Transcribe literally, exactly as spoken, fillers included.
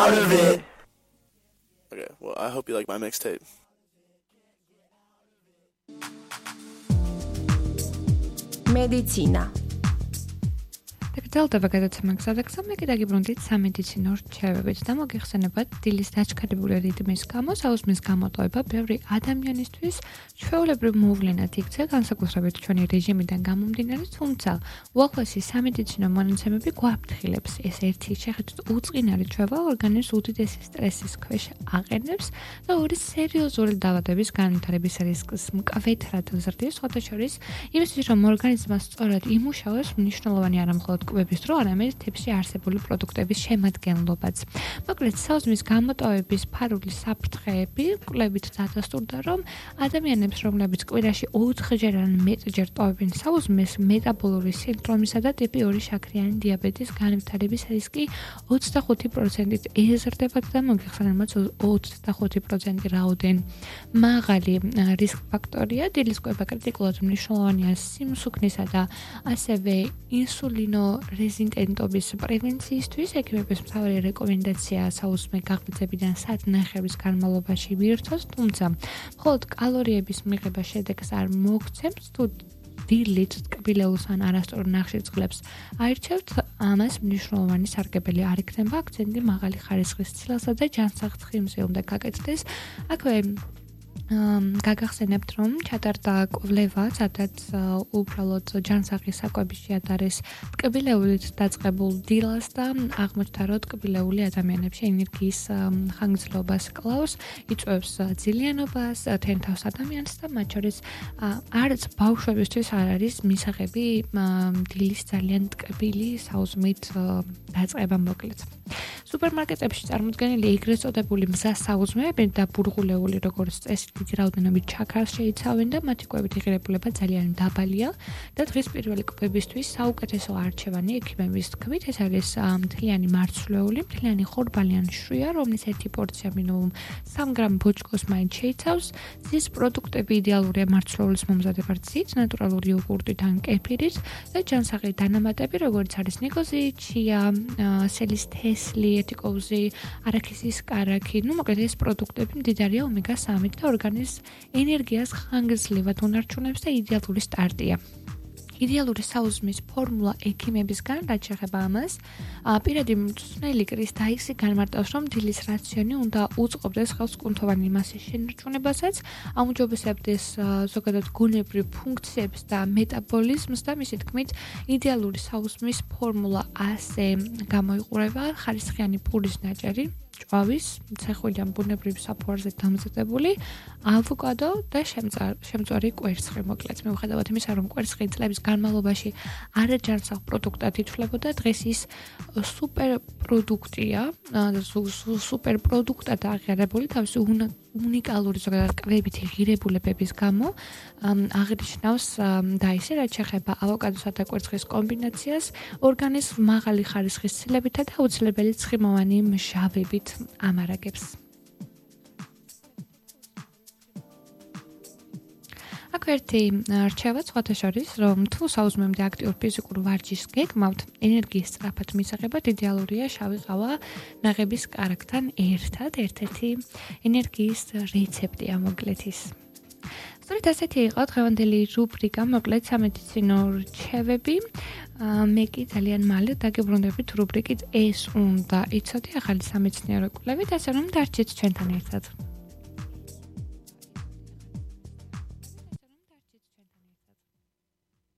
out of it. Okay, well, I hope you like my mixtape. Medicina. დაგრძელდება გადაცემა გზადაგზა, მე კიდე გიბრუნდით სამედიცინო რჩევებით და მოგიხსენებათ დილის დაჩქარებული რიტმის გამო საუზმის გამოტოვება ბევრი ადამიანისთვის ჩვეულებრივ მოვლენად იქცა, განსაკუთრებით ჩვენი რეჟიმიდან გამომდინარე, თუმცა უახლოესი სამედიცინო მონაცემები გვაფრთხილებს, ეს ერთი შეხედვით უწყინარი ჩვევა ორგანიზმს უდიდესი სტრესის ქვეშ აყენებს და ორი სერიოზული დაავადების განვითარების რისკს მკვეთრად ზრდის, სხვათა შორის იმისთვის, რომ ორგანიზმმა სწორად იმუშაოს, მნიშვნელოვანი არა მხოლოდ კვების დრო, არამედ თიფში არსებული პროდუქტების შემადგენლობაც. მოკლედ, საუზმის გამოტოვების ფარული საფრთხეები კვლევით დადასტურდა, რომ ადამიანებს, რომლებიც კვირაში ოთხჯერ ან მეტჯერ ტოვებენ საუზმეს, მეტაბოლური სინდრომისა და ტიპი ორი შაქრიანი დიაბეტის განვითარების რისკი ოცდახუთი პროცენტით ეზრდებათ და მოგიხსენებათ ოცდახუთი პროცენტი რაოდენ მაღალი რისკ ფაქტორია. დილის კვება კრიტიკულად მნიშვნელოვანია სიმსუქნისა და ასევე ინსულინო რეზისტენტობის პრევენციისთვის. ექიმების მთავარი რეკომენდაცია საუზმე გაღვიძებიდან საათნახევრის განმავლობაში ვირთოს, თუმცა მხოლოდ კალორიების მიღება შედეგს არ მოგცემს. თუ დილით ტკბილეულს ან არასწორ ნახშირწყლებს აირჩევთ, ამას მნიშვნელოვანი სარგებელი არ იქნება. აქცენტი მაღალი ხარისხის ცილსა და ჯანსაღცხიმზე უნდა გაკეთდეს. აქვე გაგახსენებთ, რომ ჩატარდა კვლევა, სადაც უბრალოდ ჯანსაღის საკვების შეადარეს ტკბილეულით დაწყებულ დილას და აღმოჩნდა, რომ ტკბილეული ადამიანებში ენერგიის ხანგრძლივობას კლავს, იწვევს ძილიანობას, თენთავს ადამიანს და მათ შორის არც ბავშვებისთვის არ არის მისაღები დილის ძალიან ტკბილი საუზმით დაწყება მოკლედ. სუპერმარკეტებში წარმოდგენილი ეგრეთ წოდებული მზა საუზმეები და ბურღულეული, როგორც წესი, დიდი რაოდენობით ჩაქარს შეიცავენ და მათი კვებით ღირებულება ძალიან დაბალია და დღის პირველი კვებისთვის საუკეთესო არჩევანი ექიმების თქმით ეს არის მთლიანი მარცვლეული, მთლიანი ხორბალი ან შვრია, რომლის ერთი პორცია მინიმუმ სამ გრამ ბოჭკოს მაინც შეიცავს. ზის პროდუქტები იდეალურია მარცვლეულის მომზადებად ცით, ნატურალური იოგურტით ან კეფირით და ჯანსაღი დანამატები, როგორც არის ნიკოზი, ჩია, სელის თესლი, ეთიკოუზი, არაქისის კარაქი. ნუ მოკლედ ეს პროდუქტები მდიდარია ომეგა სამით და ორგანიზმს ენერგიას ხანგრძლივად უნარჩუნებს და იდეალური სტარტია. იდეალური საუზმის ფორმულა ექიმებისგან, რაც შეეხება ამას, პირადი მწვრთნელი კრის დაიქსი განმარტავს, რომ დილის რაციონი უნდა უწყობდეს ხელს კუნთოვანი მასის შენარჩუნებასაც, აუმჯობესებდეს ზოგადად გონებრივ ფუნქციებს და მეტაბოლიზმს და მისი თქმით, იდეალური საუზმის ფორმულა ასე გამოიყურება: ხარისხიანი პურის ნაჭერი, ჭვავის, ცეხვილი ან ბუნებრივი საფუარზე დამზადებული, ავოკადო და შემწვარი კვერცხი. მოკლედ, მიუხედავად იმისა, რომ კვერცხი წლების განმავლობაში არაჯანსაღ პროდუქტად ითვლებოდა, დღეს ის სუპერ პროდუქტია, სუპერ პროდუქტად აღიარებული თავისი უნიკალური ზოგადად კვებითი ღირებულებების გამო აღნიშნავს და ისე, რაც შეეხება ავოკადოსა და კვერცხის კომბინაციას, ორგანიზმს მაღალი ხარისხის ცილებითა და აუცილებელი ცხიმოვანი მჟავებით ამარაგებს. აქ ერთი რჩევა სხვათა შორის, რომ თუ საუზმემდე აქტიურ ფიზიკურ ვარჯიშს გეგმავთ, ენერგიის სწრაფად მისაღებად იდეალურია შავი ყავა ნაღების კარაქთან ერთად, ერთ-ერთი ენერგიის რეცეპტია მოკლედ ის. სწორედ ასეთი იყო დღევანდელი რუბრიკა, მოკლედ სამედიცინო რჩევები. მე კი ძალიან მალე დაგებრუნდებით რუბრიკით ეს უნდა იცოდე ახალი სამეცნიერო კვლევით, ასე რომ დარჩით ჩვენთან ერთად.